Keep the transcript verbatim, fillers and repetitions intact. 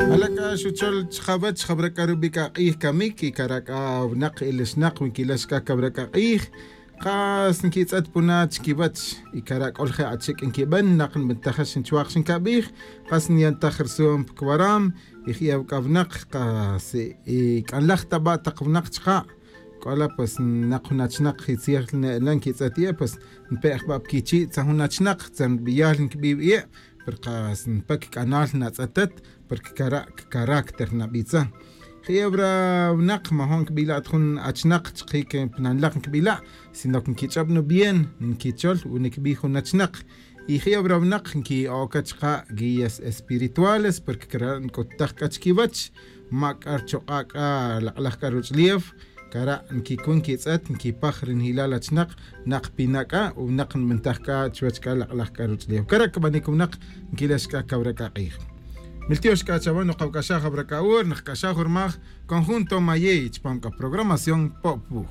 Ala' c'a xuchol chkawech jawra c'a rubi' c'a k'ij camic y cara' c'a winak ilixnak wi nquilax c'a cawra c'a k'ij. Kas nquitz'et puna chiquiwech y cara' c'o lje' achic' nquiben nak nbentajex nchuak xincabij. Kas nyantaj rsu'um pa cuwaram y je'ew c'a winak kas y c'anlaj ta ba' tak winak chka'. C'o la' pues nak jun achinak y tzij ne'ela nquitz'et ye' pues npe' jba' pa quichi' tzan jun achinak tzan biyal nquibi' wi ye'. Pero kas npe cac'anal natz'etet porque cara' cacaracter nabitza. Je'ew ra winak majo' nquibila' ta jun achinak chkic pa nanlak nquibila', sino que nquich'ob nubien nquichol wi niquibi jun achinak. Y je'ew ra winak nqui'oca chka' guías espirituales porque cara' nc'uttaj c'a chiquiwech ma c'a rchuk'a' c'a lak'laj c'a ruch'ulew. Cara' nquicun quitz'et nquipaj ri nijilal achinak nak pina' c'a winak nbentaj c'a chuwech c'a lak'laj c'a ruch'ulew cara' cbanic winak. Nquilex c'a cawra c'a k'ij miltiox c'a chawan nokawc'axaj awra c'a hora nakc'axaj urmaj conjunto mayey chupam c'a programación po'puj.